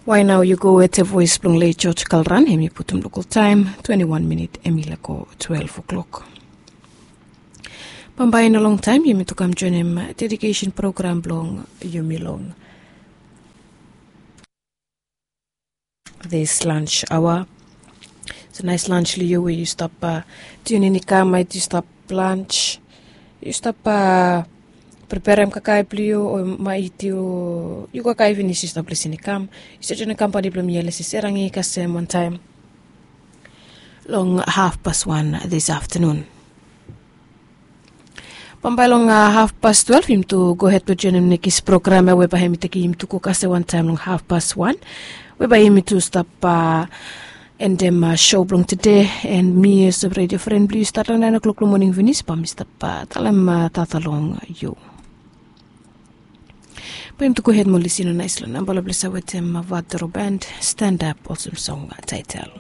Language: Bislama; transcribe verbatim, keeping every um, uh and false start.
Wae nao yu go wete voes blong lei George Kalran, hem i putum lokal taem twenti wan minit hem i lego twelef o'klok. Bambae i no longtaem yumi tu kam joenem dedikesen program blong yumi long this lunch aoa. So naes lunch long yu we yu stap tunin i kam maet yu stap lunch, yu stap preperem kakae blong yu o maet yu kakae finis yu stap lisin i kam. Yu stap joenem kampani blong mi ya lesi serangi kasem wantaem long hafpas wan this aftenun. Bambae long hafpas twelef yumi tu gohed blong joenem nekis program ya we bae hem i tekem yumi tu go kasem wantaem long hafpas wan, we bae yumi tu stap endem sho blong tede. En mi olsem redio fren blong yu stat long naen o'klok long moning finis bae mi stap talem tata long yu. Bae yumi tu gohed mo lisin long naes long namba long ples ya wetem vadoro band, Stand Up olsem song taetel.